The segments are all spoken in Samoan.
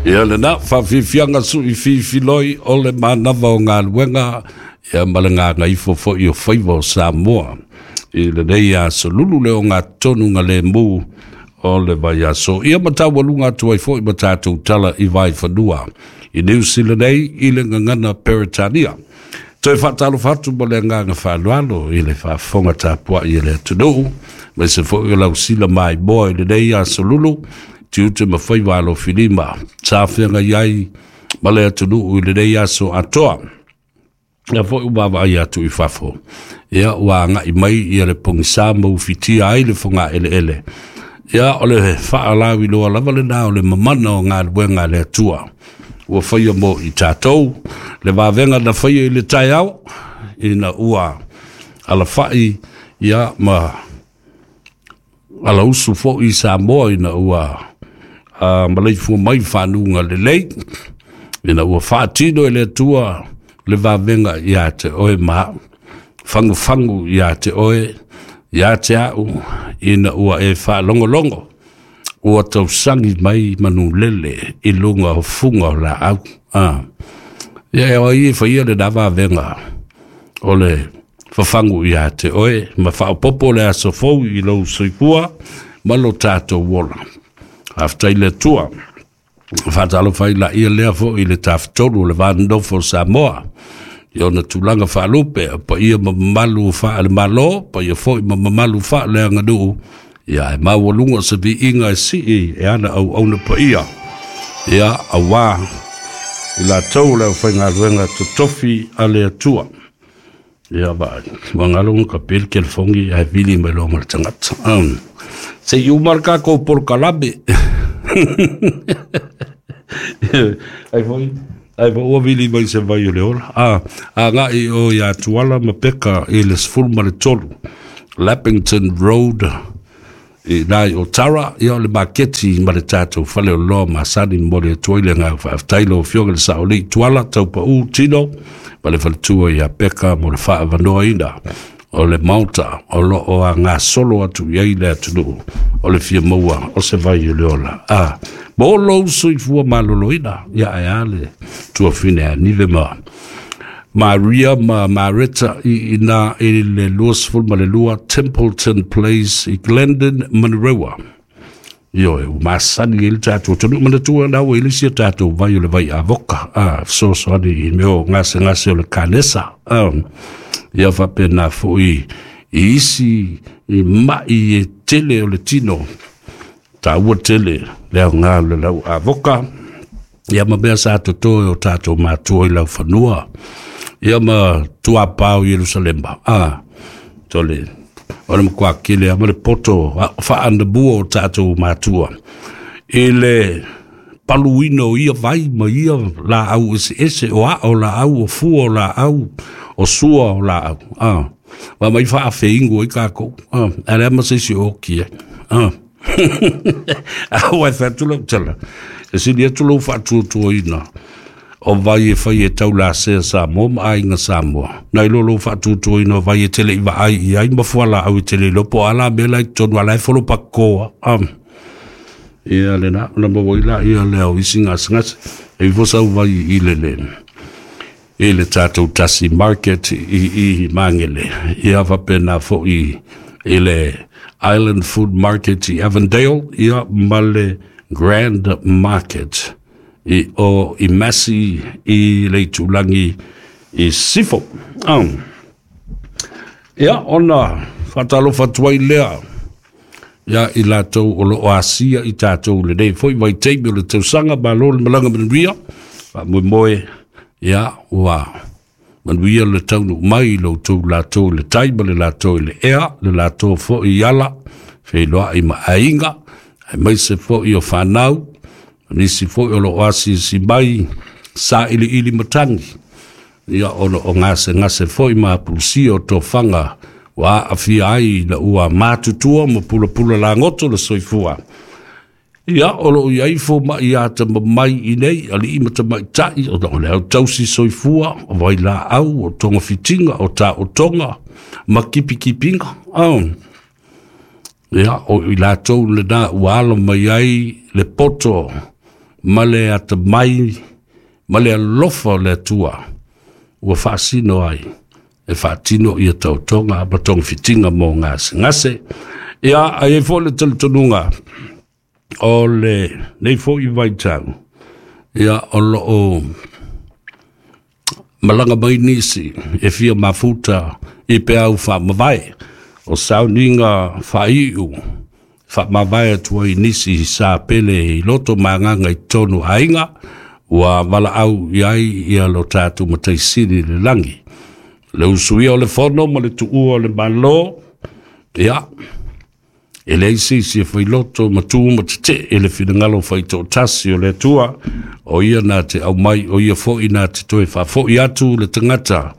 Ia lena faafiafiaga suʻi fifiloi o le manava o galuega ia ma le gagaifo foʻi o faiva o Samoa i lenei aso lulu le ogatotonu galemu o le vaiaso. Ia ma taualuga atu ai foʻi ma tatou tala i vaifanua i Niu Sila nei i le gagana Peretania. Toe faatalofa atu ma le agaga faaaloalo i le faafofoga tapuai e le atunuu, ma se foʻi o lausila maimoa i lenei aso lulu, tiute ma faiva alofilima sa feagai ai ma le atunuu i lenei aso atoa. Ia foi ua vaavaai atu i fafo, ia ua agai mai ia le pogisa ma ufitia ai le fogaeleele. Ia o le faalauiloa lava lena o le mamana o galuega a le Atua ua faia mo i tatou, le vavega na faia i le taeao ina ua alafai ia ma alausu foi i Samoa ina ua maleifua mai fanuga lelei, ina ua faatino e le Atua le vavega ia te oe ma au, fagufagu ia te oe ia te au, ina ua e faalogologo ua tausagi mai manulele i luga o fuga o laau. Ia e ai e faia lena vavega o le fafagu ia te oe ma faaopopo le aso fou i lou soifua ma lo tatou ola. Faafetai le Atua. Faatalofa ai laia lea foʻi i le tafatolu o le va nonofo o Samoa i ona tulaga faalupe, paia ma mamalu faale-Malo, paia foi ma mamalu faaleaganuu, ia e maualuga se viiga e sii e ana auauna paia, ia auā i latou le aufaigaluega totofi a le Atua. Ia vaai, ua galo ka pele telefogi ae vili mai loa ma le tagata. Se i uma le tatou polokalame. Ai foi, ai foi ua vili mai se vai o le ola. Agai o ia Tuala ma Peka i le 13 Lappington Road i nai o Tara, ia o le maketi ma le tatou fale o loa masani mo le atu ai le agaga faafetai lau afioga i le Saolii Tuala Taupau Tino ma le faletua ia Peka mo le faaavanoaina o le maota o lo o agasolo atu i ai le atunuu o le fia maua o se vai o le ola. Mo lou soifua maloloina, ia ae a le tuafine a Nive ma Maria ma Mareta i ina i le 22 Templeton Place i Glendon, Manurewa. Ioe, ua masani ai le tatou atunuu manatua na ua i le isi o tatou vai o le vai avoka, fesoasoani i mea o gasegase o le kanesa. Ia faapena foi i isi i mai e tele o le tino, taua tele le aoga o le lau avoka, ia ma mea sa totoe o tatou matua i laufanua, ia ma tuapao i Ierusalema. Tole, o le matua kele a ma le poto faanabua o tatou matua i le paluina o ia vai ma ia laau eseese o ao laau o fua o laau o sua o laau. Ma mai faafeigu ai kākou. A le ama se isi o oki ai. A ua e fai atu lau tala, e sili atu lou faatuatuaina o vai e fai e taulasea Samoa ma aiga Samoa, nai lo lou faatuatuaina o vai e tele i vaai i ai ma fualaau e tele iloa po o a la mea la i totonu a la e folopakoa. Ia lena, ona maua ai laia lea o isi gasegase. E ifo sau vai i le le i le tatou tasi market i Magele, ia faapena foʻi i le Island Food Market i Avondale, ia ma le Grand Market i o i Massey i le itulagi i Sifo. Ia ona faatalofa atu ai lea ia i latou o lo o asia i tatou lenei foi vaitaimi o le tausaga. Malo le malaga manuia, faamoemoe ia ua manuia le taunuu mai i lo outou latou i le tai ma le latou i le ea, le latou foi i ala feiloai ma aiga, aemaise foi o fanau, nisi foi o lo o asiasi mai sa iliili matagi, ia ona o gasegase foi ma apulusia o tofaga ua aafia ai ina ua matutua ma pulapula lagoto le soifua. Ia o lo o i ai fomaʻi atamamai i nei alii ma tamaitai, ona o le autausi soifua o vailaau o togafitiga o taotoga ma kipikipiga. Ia o i latou lena ua alo mai ai le poto ma le atamai ma le alofa o le Atua ua faasino ai e faatino ia tautoga ma togafitiga mo gasegase. Ia ae i ai foi le talitonuga o lenei foi vaitau, ia o loo malaga mai nisi e fia mafuta i peau faamavae o sauniga faaiu faamavae atu ai nisi sa pele i loto ma agaga i totonu aiga ua valaau i ai ia lo tatou Mataisili i le lagi. Le usuia o le fono ma le tuua o le Malo, ia, e leai se isi e failoto ma tu ma tetee i le finagalo faitoatasi o le Atua, o ia na te aumai, o ia foi na te toe faafoi atu le tagata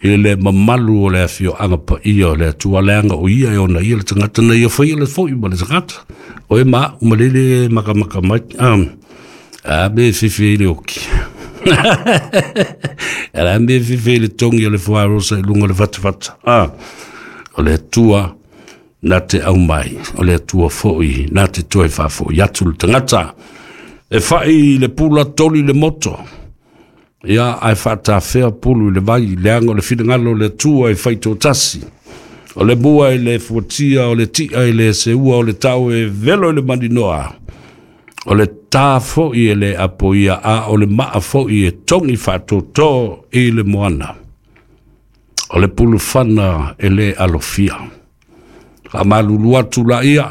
i le mamalu o le afioaga paia o le Atua, leaga o ia e ona ia le tagata na ia faia le foi ma le tagata. O e ma au ma lele makamaka mai. A me fefe i le oki. A me fefe i le tongi o le fuarosa i lunga o le fatafata. O le Atua na te aumai, o le Atua foi na te toe faafoi atu le tagata. E fai le pula toli le moto, ia ae faatafea pulu i le vai, leaga o le finagalo o le Atua e faitoatasi. O le mua i le fuatia, o le tia i le seua, o le tau e velo i le maninoa, o le tā foi e le apoia, a o le maa foi e togi faatōtō i le moana. O le pulufana e le alofia. Faamalulu atu laia,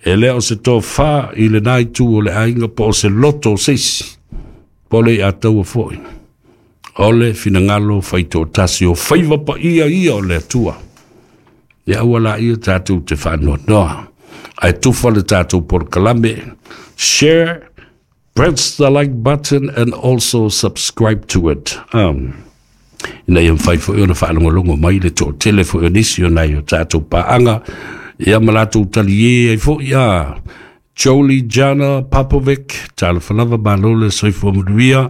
e le o se tofā i lena itu o le aiga po o se loto o se isi, po o le iataua foi. O le finagalo faitoatasi o faiva paia ia o le Atua. Ia aua laia tatou te faanoanoa. Ae tufa le tatou polokalame. Share, press the like button and also subscribe to it. Ina ia mafai foi ona faalogologo mai le toatele foi o nisi o nai o tatou paaga, ia ma latou taliē ai foi a Jolie Jana Popovic, talofa lava, malo le soifua manuia.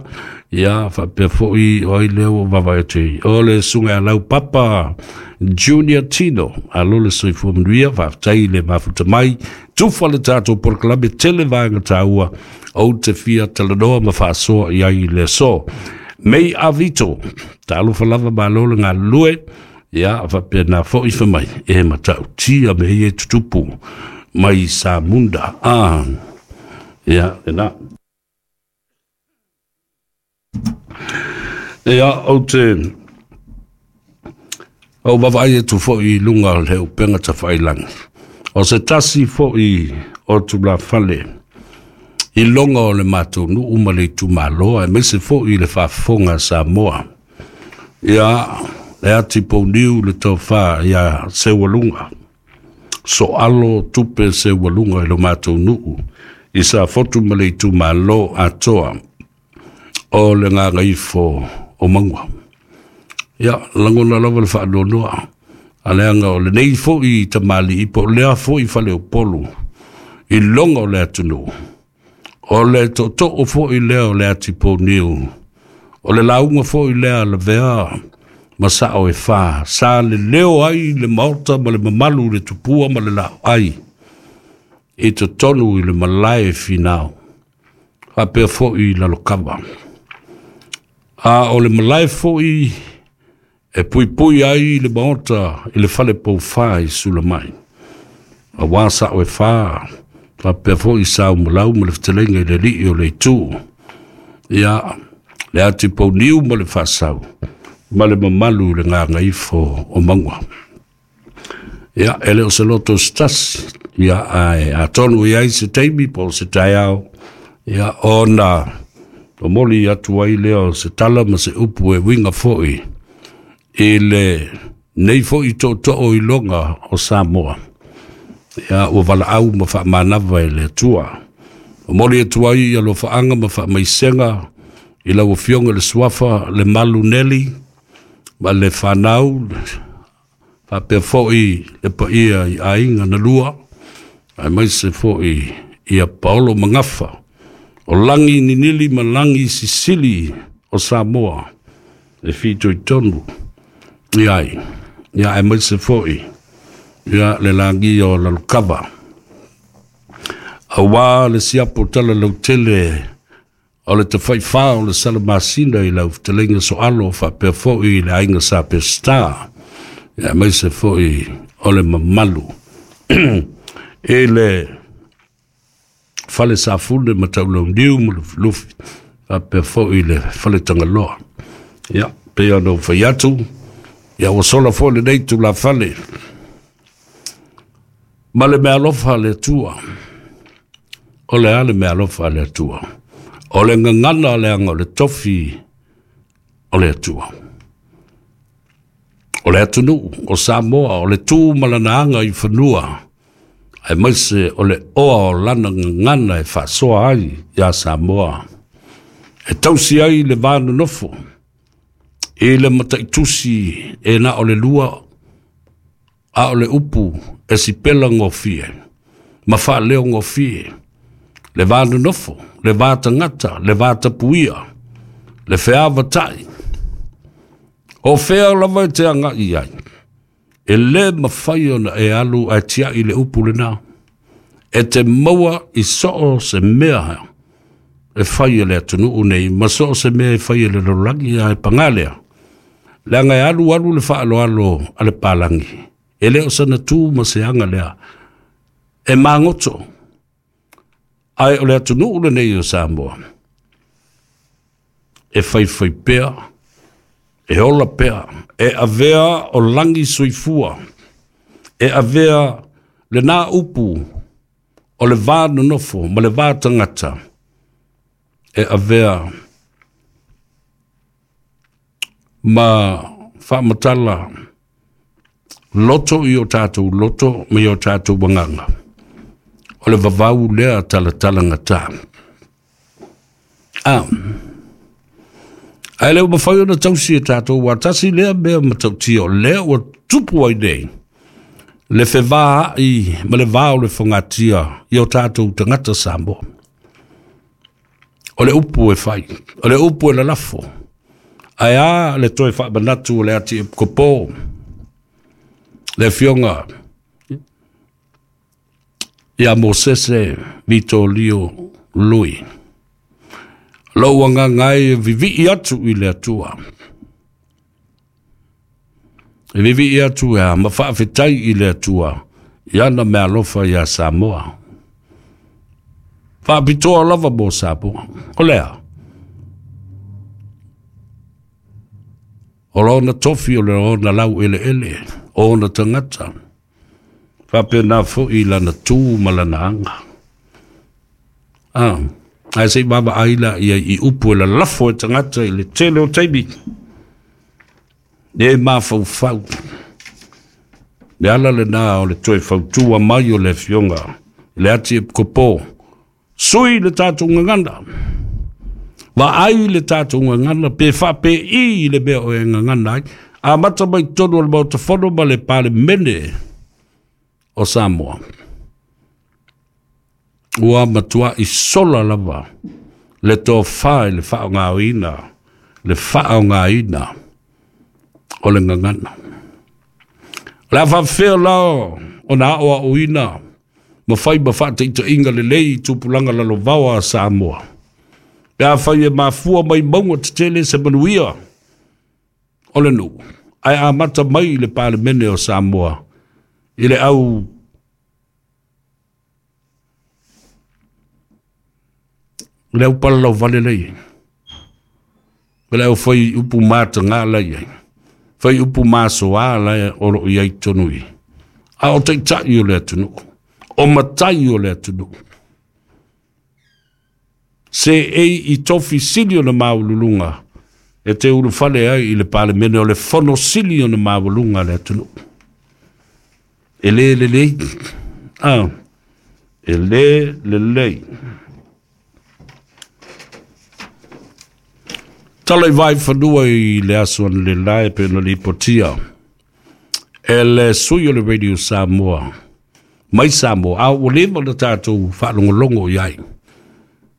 Ia faapea foi o ai lea ua vaavaai atu ai, o le susuga ia Lau Papa Junior Tino, alo le soifua manuia, faafetai le mafuta mai. Tufa le tatou polokalame, tele vaega taua ou te fia talanoa ma faasoa i ai i le aso. Mei Avito, talofa lava, malo le galulue. Ia faapena foi fai mai e matautia mea ia e tutupu mai Samunda. Ia lena. Ia ou te ou vaavaai atu foi i luga o le upega tafailagi. O se tasi foi o tulafale i loga o le matou nuu ma le itumalo, aemaise foi i le faafofoga a Samoa. Ia, le ati pouniu le tofa ia Seualuga. Soalo tupe Seualuga i lo matou nuu i Safotu ma le itumalo atoa o le Gagaifo o Maua. Ia, lagona lava le faanoanoa, a leaga o lenei foi tamalii po o lea foi faleupolu i loga o le atunuu, o le tootoo foi lea o le ati pouniu, o le lauga foi lea lavea ma sao e fa, sa leleo ai le maota ma le mamalu le tupua ma le laoai i totonu i le malae finao, faapea foi i Lalokava. A o le malae foi e puipui ai le maota i le fale poufa i Sulamai, auā sao e fa, faapea foi sa umalau ma le fetalaiga i le alii o le itu. Ia, le ati pouniu ma le faasau, ma le mamalu i le gagaifo o Maua. Ia, e le o se loto se tasi, ia, ae atonu i ai se taimi po o se taeao, ia, ona momoli atu ai lea o se tala ma se upu e uiga foi i le nei foi tootoo i loga o Samoa. Ia, ua valaau ma faamanava e le Atua. Momoli atu ai alofaaga ma faamaisega i lau Afioga i le Suafa le Malu Neli ma le fanau, faapea foi le paia i aiga na lua, aemaise foi ia Paolo Magafa, o lagi ninili ma lagi sisili o Samoa e fitoitonu i ai. Ia aemaise foi ia le lagia o Lalokava, auā le siapo tala lautele O le tafaifā o le Salamasina i lau fetalaiga Soalo faapea foi i le aiga Sa Peseta, aemaise foi o le mamalu i le Fale Safune ma Taulauniu ma Lufilufi, faapea foi i le Fale Tagaloa. Ia, pei ona ou fai atu, ia ua sola foi lenei tulafale ma le meaalofa a le Atua. O le a le meaalofa a le Atua? O le gagana leaga o le tofi o le Atua. O le atunuu o Samoa, o le tu ma lana aga i fanua, aemaise o le oa o lana gagana e faasoa ai iā Samoa, e tausi ai le va nonofo i le mataitusi e na o le lua, a o le upu e sipela gofie ma faaleo gofie, le va nonofo, le va tagata, le va tapuia, le feavatai. O fea lava e te agai ai, e lē mafai ona e alu ae tiai le upu lena. E te maua i soo se mea e fai e le atunuu nei, ma soo se mea e fai e le lalolagi, ae pagā lea, leaga e alu alu le faaaloalo a le palagi, e le o sana tu ma se aga lea, e magoto. Ae o le atunuu lenei o Samoa, e faifai pea, e ola pea, e avea o lagi soifua, e avea lena upu o le va nonofo ma le va tagata, e avea ma faamatala loto i o tatou loto ma i o tatou agaga. O le vavau lea talatalagata. Ae le ua mafai ona tausi e tatou ua tasi lea mea matautia o lea ua tupu ai nei le fevaai ma le va o le fogatia i o tatou tagata Samoa. O le upu e fai, o le upu e lalafo, ae a le toe faamanatu o le ati epikopo, le afioga ia Mosese Vitolio Lui. Lou agaga e vivii atu i le Atua. E vivii atu e a ma faafetai i le Atua i ana meaalofa iā Samoa. Faapitoa lava mo Samoa. O lea, o lona tofi o le ona lau eleele, o ona tagata, faapena foi i lana tu ma lana aga. Ae se i vaavaai la ia i upu e lalafo e tagata i le tele o taimi, e mafaufau. Le ala lena o le toe fautua mai o le afioga i le ati epikopo, sui le tatou gagana, vaai le tatou gagana, pe faapei le mea o e gagana ai, amata mai totonu o le Maota Fono ma le Palemene o Samoa. Ua matuai sola lava le tofa i le faaaogaina, le faaaogaina o le gagana. O le a faafefea la ona aoaoina ma fai ma faataitaiga lelei i tupulaga lalovaoa a Samoa, pe afai e mafua mai mauga tetele se manuia o le nuu, ae amata mai i le Palemene o Samoa i le au le au palalauvale lea i ai. O le au fai upu mataga la i ai, fai upu masoa la o loo i ai totonu i, a o taitai o le atunuu, o matai o le atunuu. Se ei i tofi sili ona maualuluga e te ulufale ai i le Palemene o le fono sili ona maualuga a le atunuu. E lē lelei, e lē lelei. Tala i vai fanua i le aso analeila e pei ona lipotia e le sui o le Radio Samoa mai Samoa, a ua leva ona tatou faalogologo i ai.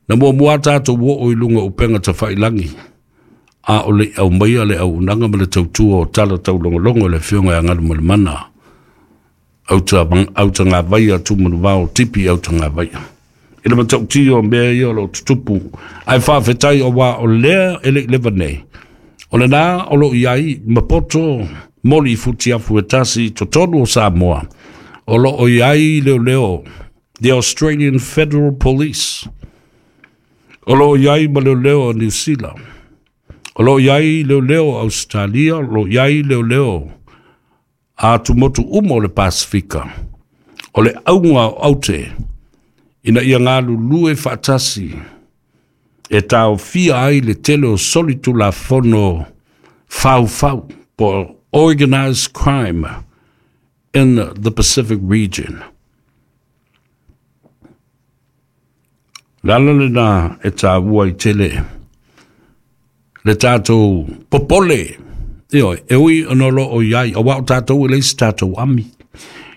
Na muamua tatou oo i luga o upega tafailagi, a o le aumaia le auaunaga ma le tautua o tala taulogologo i le afioga ia Galumalemana Autagavaia Tumanuvao Tipi Autagavaia. I le matautia o mea ia o lo o tutupu. Ae faafetai auā o lea e le i leva nei, o lena o lo o i ai ma poto moli i futiafu e tasi i totonu o Samoa, o lo o i ai leoleo, the Australian Federal Police, o lo o i ai ma leoleo o Niu Sila, o lo o i ai leoleo o Ausetalia, o lo o i ai leoleo a atumotu uma o le Pasefika. O le auga o aute, ina ia galulue faatasi e taofia ai le tele o solitulafono faufau po o organized crime in the Pacific region. O le ala lena e taua ai tele le tatou popole, ioe, e ui ona o lo o i ai, aua o tatou e leai se tatou army,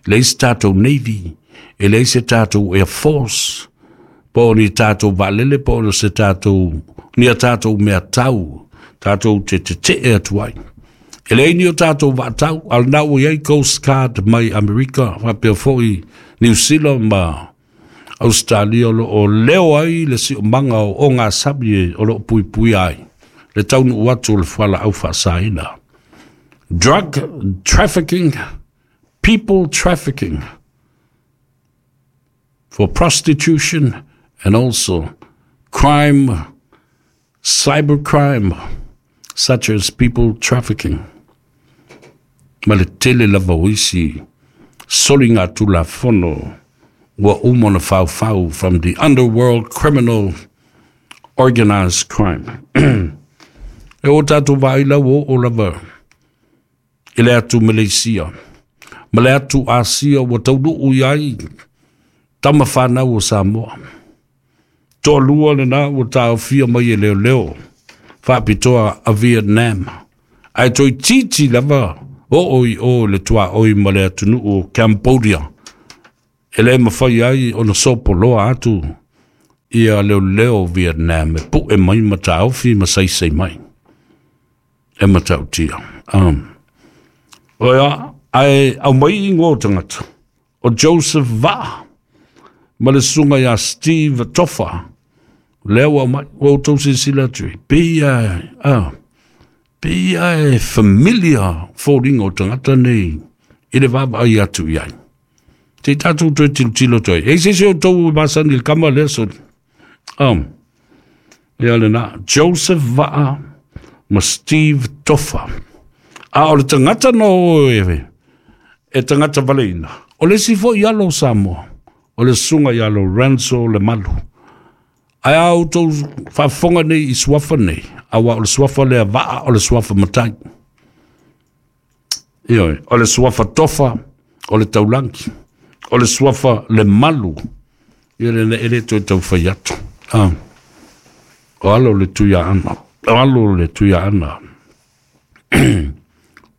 e leai se tatou navy, e leai se tatou air force, po o ni tatou vaalele, po o se tatou, ni a tatou mea tau, tatou te tetee atu ai. E leai ni o tatou vaatau, a o lena ua i ai Coast Guard mai Amerika, faapea foi Niu Sila ma Ausetalia o lo o leo ai le siomaga o ogasami o lo o puipuia ai le taunuu atu o le fualaau faasaina. Drug trafficking, people trafficking for prostitution and also crime, cybercrime, such as people trafficking. Ma le tele lava o isi soligatulafono ua uma ona faufau from the underworld criminal organized crime. E o tatou vaai la ua oo lava i le atu Maleisia ma le atu Asia ua taunuu i ai tama fanau o Samoa. Toalua lena ua taofia mai e leoleo faapitoa a Vietnam, ae toeitiiti lava oo i o i le tuaoi ma le atunuu o Cambodia, e le mafai ai ona sopoloa atu ia leoleo Vietnam e pue mai ma taofi ma saisai mai. E matautia. Oia, ae aumai ingoa o tagata, o Joseph Vaa ma le susuga ia Steve Tofa, lea ua aumai, ua outou silasila atu i, pei a, a, pei a e familiar foliga o tagata nei i le vaavaai atu i ai. Se i tatou toe tilotilo atu ai. E i se isi o outou e masani i le kama lea soli. Ia lena, Joseph Vaa ma Steve Tofa. A o le tagata na o e, e tagata valeina, o le isi foi alo o Samoa, o le susuga ia Lorenzo Lemalu. Ae a outou faafofoga nei i suafa nei, aua o le suafa lea Vaa o le suafa matai. Ioe, o le suafa Tofa o le taulagi, o le suafa Lemalu, ia le e le toe tau fai atu. Ah. O alo le Tuiaana, o alo le Tuiaana.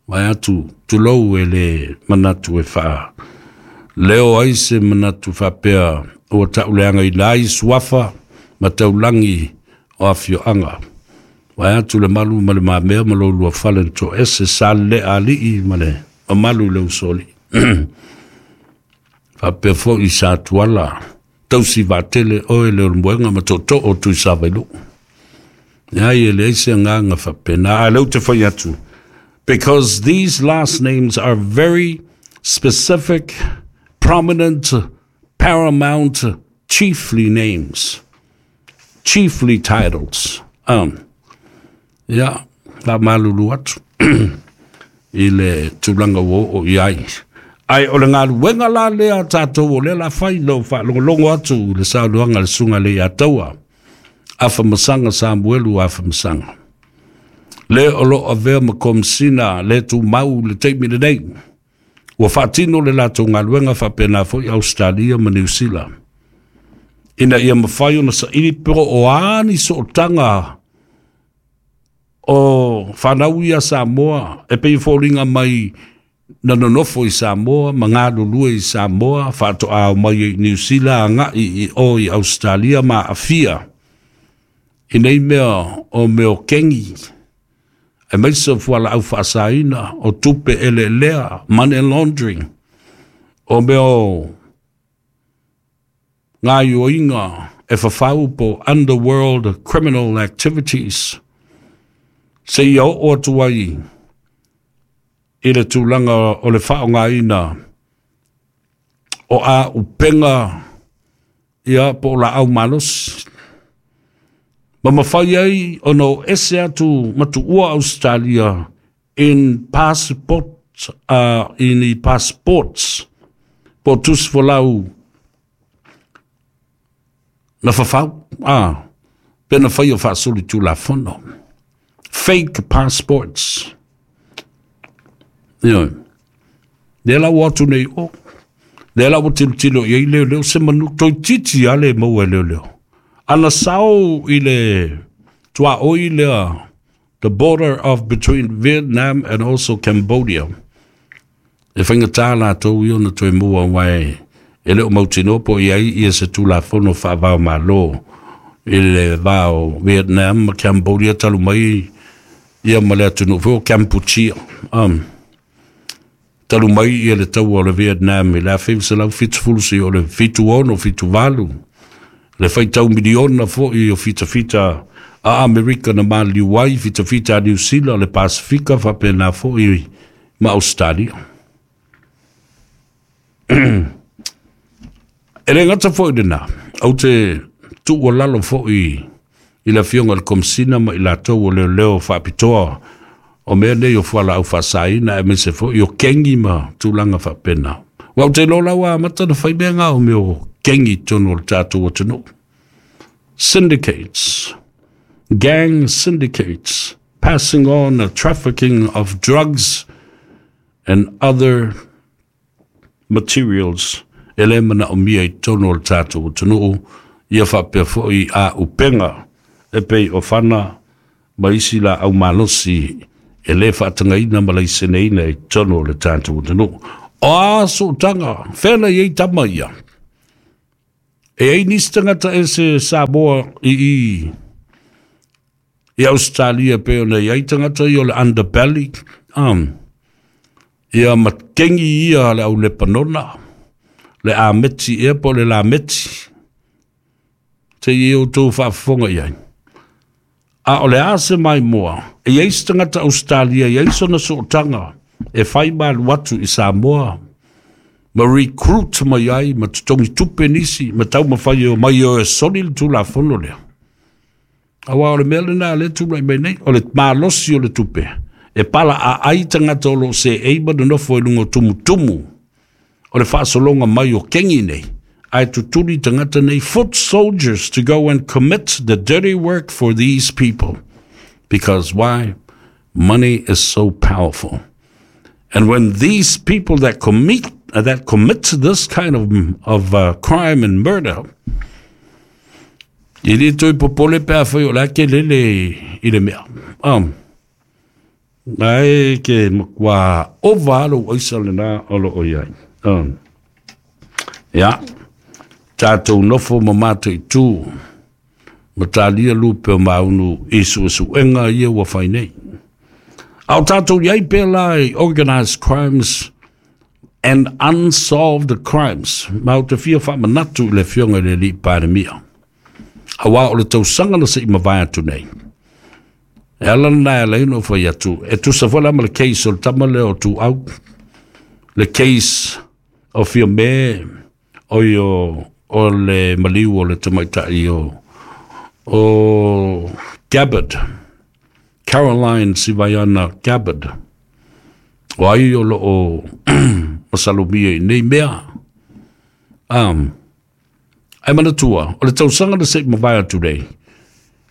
Vae atu, tulou e le manatu e faa leo ai se manatu faapea ua tauleagaina ai suafa ma taulagi o afioaga. Vae atu le malu ma le mamea ma lo lua fale na toese sa le alii ma le mamalu i le usoalii. Faapea foi sa Tuala tausi vaatele oe le Olomoega ma tootoo o Tuisavailuu. Leai e leai se agaga faapena, a o lea ou te fai atu, because these last names are very specific, prominent, paramount, chiefly names, chiefly titles. Ia, faamalulu atu i le tulaga ua oo i ai. Ae o le galuega la lea a tatou o lea la fai na ou faalogologo atu i le saunoaga a le Susuga i le Iataua, Afamasaga Samuelu Afamasaga, le o lo o avea ma Komesina le tumau i le taimi lenei. Ua faatino le latou galuega faapena foi Ausetalia ma Niu Sila, ina ia mafai ona saili po o a ni sootaga o fanau ia Samoa e pei e foliga mai na nonofo i Samoa ma galulue i Samoa, faatoa omai ai i Niu Sila agai i o i Ausetalia ma aafia i nei mea o mea o kengi, aemaise o fualaau faasaina, o tupe eleelea, money laundering, o mea o Gaoioiga e fafau po underworld criminal activities seia oo atu ai i le tulaga o le faaaogaina o auupega ia po o laau malosi ma mafai ai ona o ese atu ma tuua Ausetalia in passport, in i passports po o tusi folau na fafau pe na faia faasolitulafono, fake passports. Ioe, lea la ua atu nei o lea la ua tilotilo i ai leoleo se manu toeitiiti lava le maua e leoleo ana sao i le tuaoi lea, the border of between Vietnam and also Cambodia. E faigata latou ia ona toe maua aua e le o mautinoa po o i ai ia se tulafono faava-o-Malo i le va o Vietnam ma Cambodia talu mai ia ma le atunuu foi o Kampuchea. Talu mai ia le taua o le Vietnam i le 1970 seia oo i le 76, 78, le faitau miliona foi o fitafita a Amerika na maliliu ai, fitafita a Niu Sila, le Pasefika faapena foi ma Ausetalia. E le gata foi i lena, ou te tuualalo foi i le Afioga i le Komesina ma i latou o leoleo faapitoa o mea nei o fualaau faasaina aemaise foi o kengi ma tulaga faapena. Aua ou te iloa la ua amata ona fai mea na o mea o kengi i totonu o le tatou atunuu. Syndicates, gang syndicates, passing on a trafficking of drugs and other materials e le manaomia i totonu o le tatou atunuu ia faapea foi auupega e pei o fana ma isi laau malosi e le faatagaina ma laiseneina i totonu o le tatou atunuu. O a sootaga, fea na i ai tama ia? E i ai nisi tagata ese Samoa i i Ausetalia pei ona i ai tagata ia o le underbelly, ia ma kengi ia le au Lepanona, le Ameti ea po o le Lameti, se i outou faafofoga i ai. A o le a se maimoa, e i ai se tagata Ausetalia e i ai sona sootaga e fai ma alu atu i Samoa ma recruit mai ai ma totogi tupe nisi ma taumafai e omai e o e soli le Tulafono lea. Aua o le mea lena lea e tulai mai nei, o le malosi o le tupe e palaaai tagata o lo o seei ma nonofo i luga o tumutumu o le faasologa mai o kengi nei, ae tutuli tagata nei, foot soldiers to go and commit the dirty work for these people. Because why? Money is so powerful. And when these people that commit this kind of crime and murder, e le toe popole pe afai o le a ke lele i le mea. Ae ke matua ova lou aisa lena o lo o i ai. Ia, tatou nofo ma mataitu ma talia lupe o maunu i suesuega ia ua fai nei. A o tatou i ai pea la i organized crimes and unsolved crimes, ma ou te fia faamanatu i le Afioga i le Alii Palemia. Aua o le tausaga na se i mavae atu nei, e ala lena e ala ai ona ou fai atu, e tusa foi la ma le case o le tama lea o Tuau, le case o Fiame, oi o le maliu o le tamaitai o Gabbard, Caroline Sivaiana Gabbard, o ai o lo o masalomia i nei mea. Ae manatua, o le tausaga na se i mavae atu nei,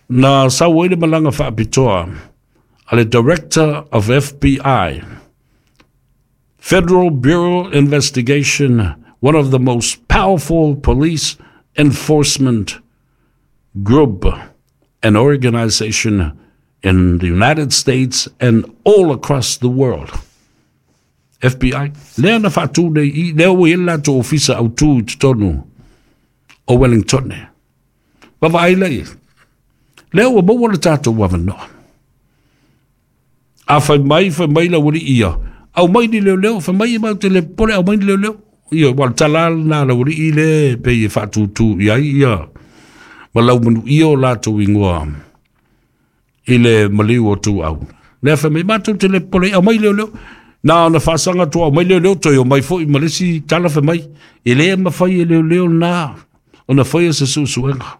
na sau ai le malaga faapitoa a le Director of FBI, Federal Bureau Investigation, one of the most powerful police enforcement group and organization in the United States and all across the world. FBI, lea na faatu nei i, lea ua i ai le latou ofisa autu i totonu o Wellington. Vaavaai la i ai. Lea ua maua le tatou avanoa. A fai mai, fai mai le aualii ia, aumai ni leoleo, fai mai e matou te le popole, aumai ni leoleo. Ioe, aua o le tala lava lena a le aualii lea e pei e faatūtū i ai ia ma laumanuia o latou igoa i le maliu o Tuau. Lea fai mai, matou te le popole, aumai leoleo. Na ona faasaga atu, aumai leoleo, toe omai foi ma le isi tala fai mai, e le mafai e leoleo lena ona faia se suesuega.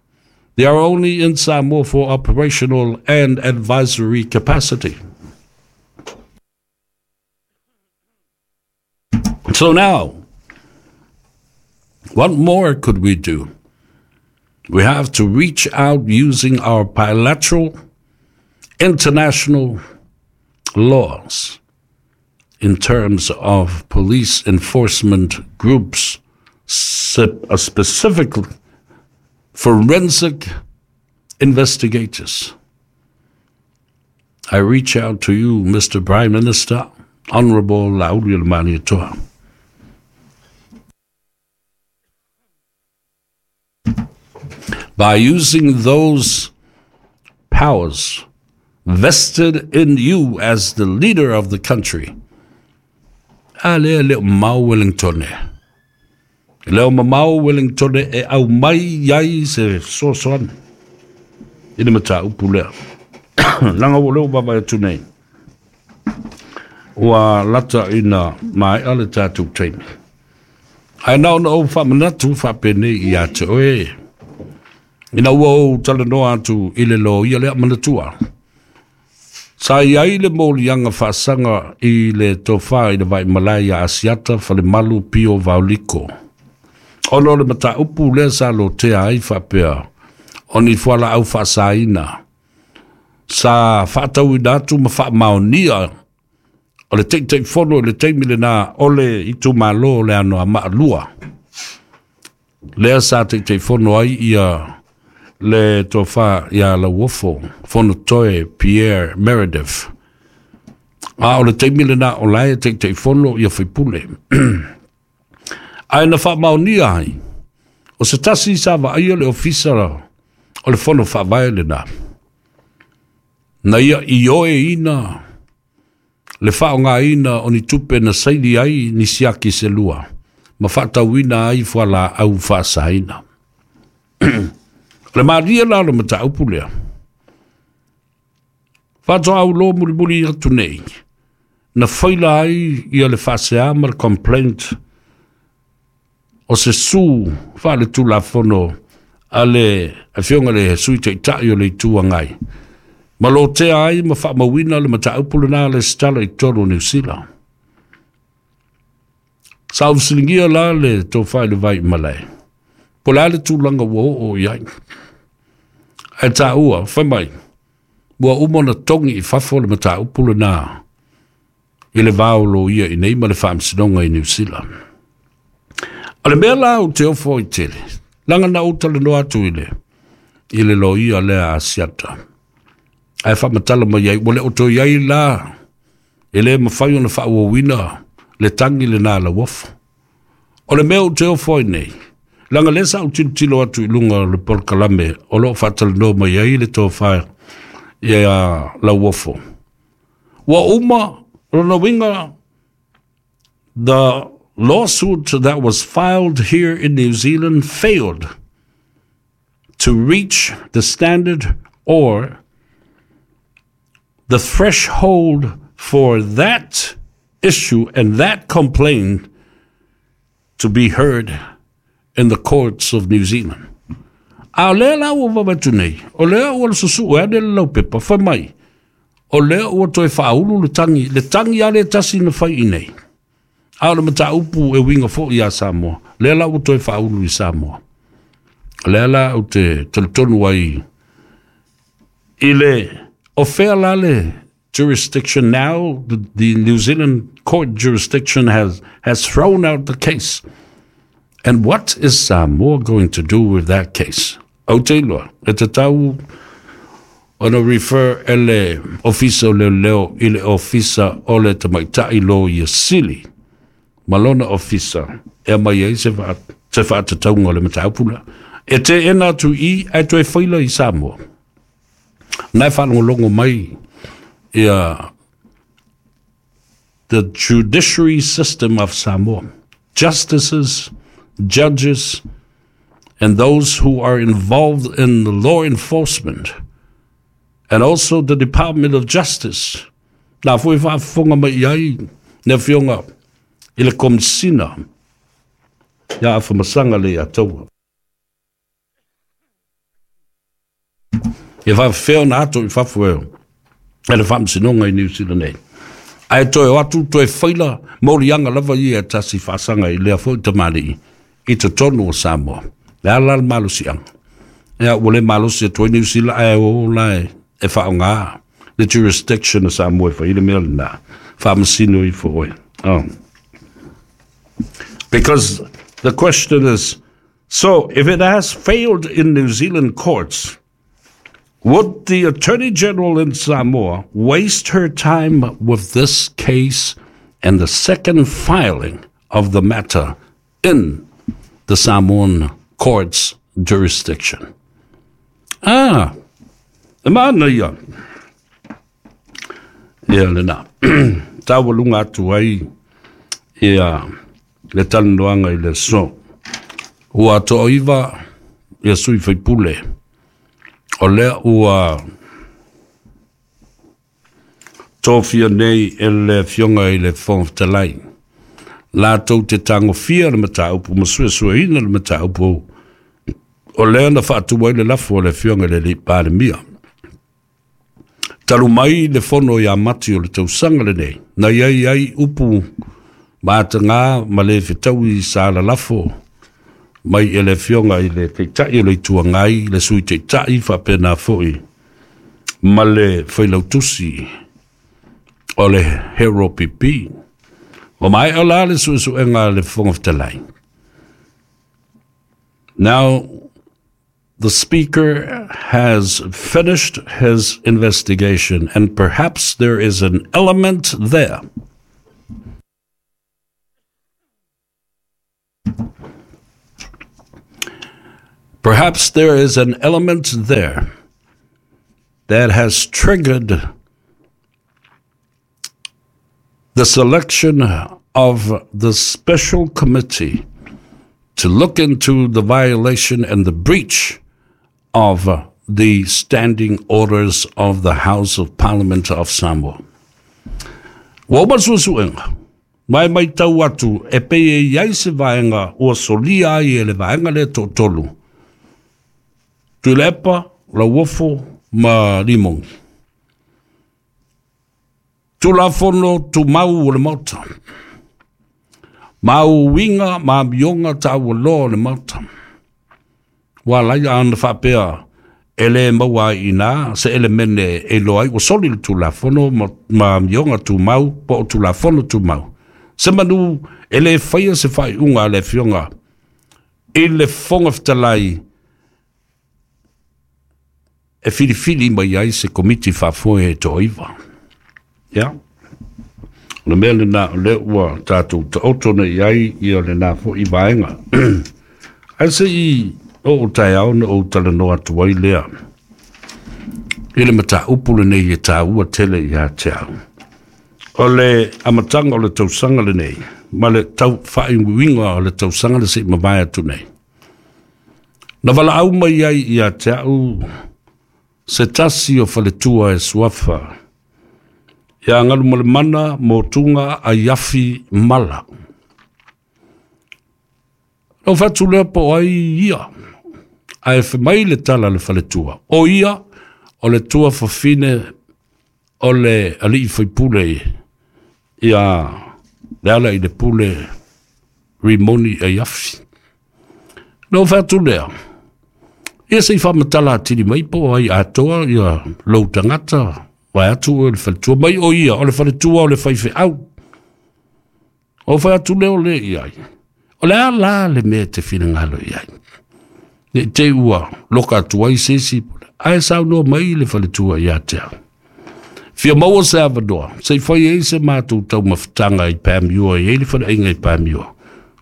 They are only in Samoa for operational and advisory capacity. So now, what more could we do? We have to reach out using our bilateral international laws in terms of police enforcement groups, specifically forensic investigators. I reach out to you, Mr. Prime Minister, Honorable Laulu By using those powers vested in you as the leader of the country, a lea le o mamao Wellington. E le o mamao Wellington e aumai ai se fesoasoani i le mataupu lea. Leaga ua lea ua vaavaai atu nei, ua lata ina maea le tatou taimi. Ae na ona ou faamanatu faapenei ia te oe, ina ua ou talanoa atu i le loia lea, manatua, sa i ai le moliaga faasaga i le tofa i le Vaimalae ia Asiata Falemalu Pio Vaoliko, ona o le mataupu lea sa lotea ai faapea o ni fualaau faasaina sa faatauina atu ma faamaonia o le Taitaifono i le taimi lena o le itumalo o le Anoamaa 2, lea sa Taitaifono ai ia le tofa ia Lauofo Fonotoe Pierre Meredith. A o le taimi lena o la e Taitaifono ia faipule. Ae na faamaonia ai, o se tasi sa vaaia le ofisa o le fono faavae lena, na ia ioeina le faaaogaina o ni tupe na saili ai ni siaki se lua ma faatauina ai fualaau faasaina. O le malie la o le mataupu lea, faatoa auloa mulimuli atu nei, na faila ai ia le faasea ma le complaint o se su faaletulafono a le afioga i le Sui Taitai o le Itu Agai, ma lotea ai ma faamauina le mataupu lena le setala i totonu o Niu Sila. Sa ou fesiligia la le tofa i le Vaimalae, po o le a le tulaga ua oo i ai. Ae taua, fai mai, ua uma ona togi i fafo le mataupu lena i le va o loia i nei ma le Faamasinoga i Niu Sila. O le mea la ou te ofo ai tele, leaga na ou talanoa atu i le i le loia lea a Asiata, ae faamatala mai ai, ua le o toe i ai la, e le mafai ona faaauauina le tagi lena a Lauofo. O le mea ou te ofo ai nei, leaga lea sa ou tilotilo atu i luga o le polokalame o lo o faatalanoa mai ai le tofa ia Lauofo, ua uma lona uiga, the lawsuit that was filed here in New Zealand failed to reach the standard or the threshold for that issue and that complaint to be heard in the courts of New Zealand. A o lea la ua vaavaai atu nei, o lea ua susue ane le laupepa, fai mai, o lea ua toe faaulu le tagi, le tagi lava lea tasi na fai i nei. A o le mataupu e uiga foi ia Samoa, lea la ua toe faaulu i Samoa. O lea la ou te talitonu ai i le, o fea la le jurisdiction now, the New Zealand court jurisdiction has thrown out the case. And what is Samoa going to do with that case? Ou te iloa, e tatau ona refer e le Ofisa o Leoleo i le Ofisa o le Tamaitai Loia Sili ma lona ofisa e aumai ai se faatatauga o le mataupu lea. E teena atu i i ae toe faila i Samoa. Na e faalogologo mai ia the judiciary system of Samoa. justices, judges, and those who are involved in the law enforcement, and also the Department of Justice. Na foi faafofoga mai i ai le afioga i le Komisina ia Afamasaga le Ataua. E faafefea ona ato i fafo e e le faamasinoga i Niu Sila nei. Ae toe o atu toe faila moliaga lava ia e tasi faasaga i lea foi tamalii i totonu o Samoa. Le a la le malosiaga? Ia, ua le malosi atu ai Niu Sila ae o la e faaaoga le jurisdiction o Samoa e fai le mea lena. Faamasino ifo oe. Oh. Because the question is, so if it has failed in New Zealand courts, would the Attorney General in Samoa waste her time with this case and the second filing of the matter in the Samoan court's jurisdiction? Ah, e maana ia. Ia lena. Taualuga atu ai ia le talanoaga i le aso. Ua toaiva ia sui faipule. O lea ua tofia nei e le afioga i le Fofoga Fetalai. Latou te tagofia le mataupu ma suesueina le mataupu o lea na faatu ai le lafo a le afioga i le alii Palemia. Talu mai le fono ia Mati o le tausaga lenei, na i ai ai upu mataga ma le fetaui sa lalafo mai e le afioga i le Taitai o le Itu Agai, le Sui Taitai faapena foi ma le Failautusi o le Hero PP. Ua maea la le suesuega a le Fofoga Fetalai. Now, the Speaker has finished his investigation and perhaps there is an element there. Perhaps there is an element there that has triggered the selection of the special committee to look into the violation and the breach of the standing orders of the House of Parliament of Samoa. Ua uma le suesuega, ma e matau atu e pei e i ai se vaega ua solia ai e le vaega lea toatolu, Tuilaepa, Lauofo ma Limogi. Tulafono Tumau o le Maota. Ma uiga ma amioga taualoa o le Maota. Ua ala ai ana faapea e le maua ai i ina se elemene e iloa ai ua soli le Tulafono ma amioga tumau po o Tulafono Tumau. Se manu e le faia se faaiuga a le Afioga i le Fofoga Fetalai e filifili mai ai se Komiti Faafoe e toaiva. Ia, o le mea lena o lea ua tatou taoto nei i ai ia lena foi vaega. Ae se i oo taeao ona ou talanoa atu ai lea i le mataupu lenei e taua tele ia te au. O le amataga o le tausaga lenei ma le tau faaiuiuga o le tausaga le se i mavae atu nei. Na valaau mai ai ia te au se tasi o faletua e suafa ia Galumalemana Motuga Aiafi Mala. Na ou fatu lea po o ai ia, ae fai mai le tala a le faletua, o ia o le tuafafine o le alii faipule ia Lealailepule Rimoni Aiafi. Na ou fai atu lea, ia se i faamatala atili mai po o ai atoa ia lou tagata, vaeatu oe le faletua mai o ia, o le faletua o le faifeau. Ou fai atu lea o le i ai. O le a la le mea e te finagalo i ai? Ne i te i ua loka atu ai se isi, ae saunoa mai le faletua ia te au. Fia maua se avanoa, se i fai ai se matou taumafataga i Panmure, e i ai le faleaiga i Panmure.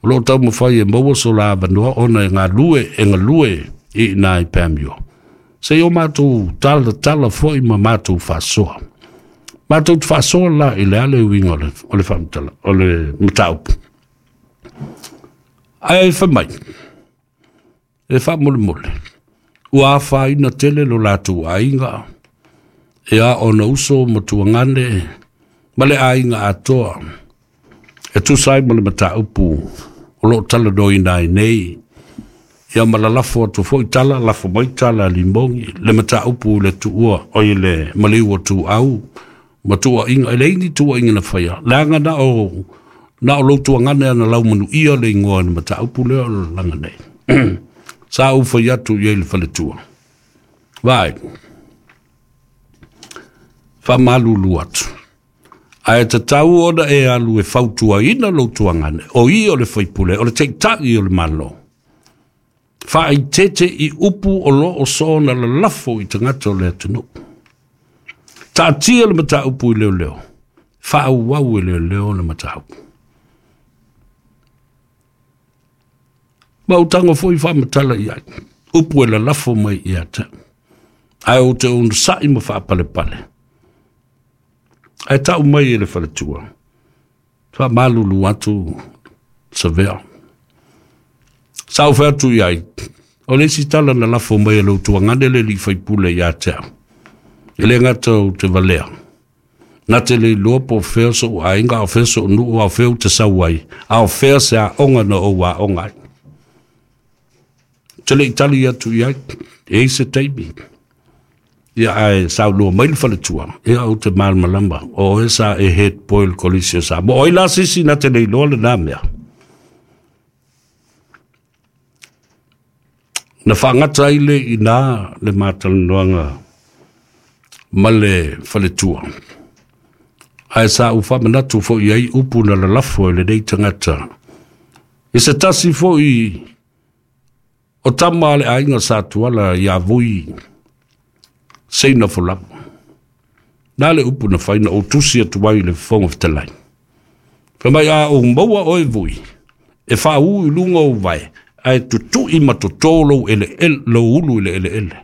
O lo o taumafai e maua so la avanoa ona e galue, e galue i ina i Panmure. Se i o matou talatala foi ma matou faasoa. Matou te faasoa la i le a le uiga o le, o le faamatala, o le mataupu. Ae fai mai, e faamolemole, ua afaina tele lo latou aiga, ia ona uso ma tuagane ma le aiga atoa, e tusa ai ma le mataupu o lo o talanoaina ai nei, ia ma lalafo atu foi tala, lafo mai tala a limogi, le mataupu i le tuua, o i le maliu o Tuau, ma tuuaiga, e leai ni tuuaiga na faia, leaga na o lou tuagane ana laumanuia le igoa i le mataupu lea o le laga nei. Sa ou fai atu i ai i le faletua. Vaai, faamalulu atu. Ae tatau ona e alu e fautuaina lou tuagane, o ia o le faipule, o le taitai o le Malo. Faaeteete i upu o lo o soona lalafo i tagata o le atunuu. Taatia le mataupu i leoleo, faaauau e leoleo le mataupu. Ma ou tago foi faamatala i ai, upu e lalafo mai ia te au. Ae ou te onosai ma faapalepale. Ae tau mai e le faletua, faamalulu atu Savea. Sa ou fai atu i ai, o le isi tala na lafo mai e lou tuagane le alii faipule ia te au. E le gata ou te valea, na te le iloa po o fea sou aiga, a o fea sou nuu, a o fea ou te sau ai, a o fea se aoga na ou aoga ai. Ou te le i tali atu i ai, e i ai se taimi. Ia ae saunoa mai le faletua, ia ou te malamalama, o oe sa e head boy i le Kolisi o Samoa. O ai la se isi na te le iloa lena mea? Na faagata ai le i ina le matalanoaga ma le faletua. Ae sa ou faamanatu foi i ai upu na lalafo e lenei tagata. I se tasi foi o tama a le aiga sa Tuala ia Vui Seina Folau. Na le upu na fai na ou tusi atu ai i le Fofoga Fetalai. Fai mai a ou maua oe Vui, e faaū i luga o ou vae, ae tutui ma toto lou eleele, lou ulu i le eleele.